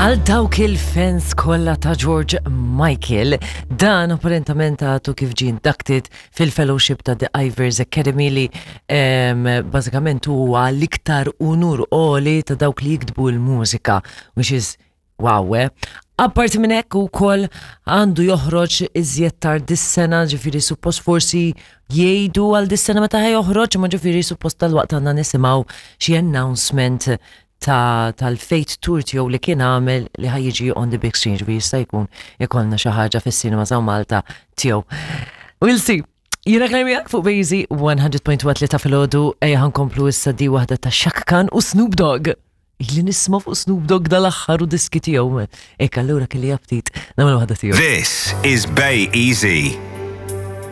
Għal dawk il-fans kollha ta' George Michael, dan apparentament għadu kif ġie inducted fil-fellowship ta' The Ivors Academy li bażikament huwa l-iktar unur għoli ta' dawk li jiktbu l-mużika, which is wow, eh? Apparti minn hekk ukoll għandu joħroġ iżjed tard dis-sena, ġifieri suppost forsi jgħidu għal dis-sena meta ħa joħroġ, ma ġifieri suppost tal-waqt għandna nisimgħu xi announcement ta' tal-Fate Tour tiegħu li kien għamel li ħa jiġi on the big screen, ġifieri jista' jkun ikollna xi ħaġa fis-cinema ta' Malta tiegħu. We'll see. Jiena Claire miegħek fuq Bejzi 100.1 ta' filgħodu ejja ħankomplu issa di waħda ta' Shaka Khan u Snoop Dogg. Ili nisma' fuq Snoop Dogg dal-aħħar u diski tiegħu. Ek allura kelli aptit nagħmel waħda tiegħu. This is Bay Easy.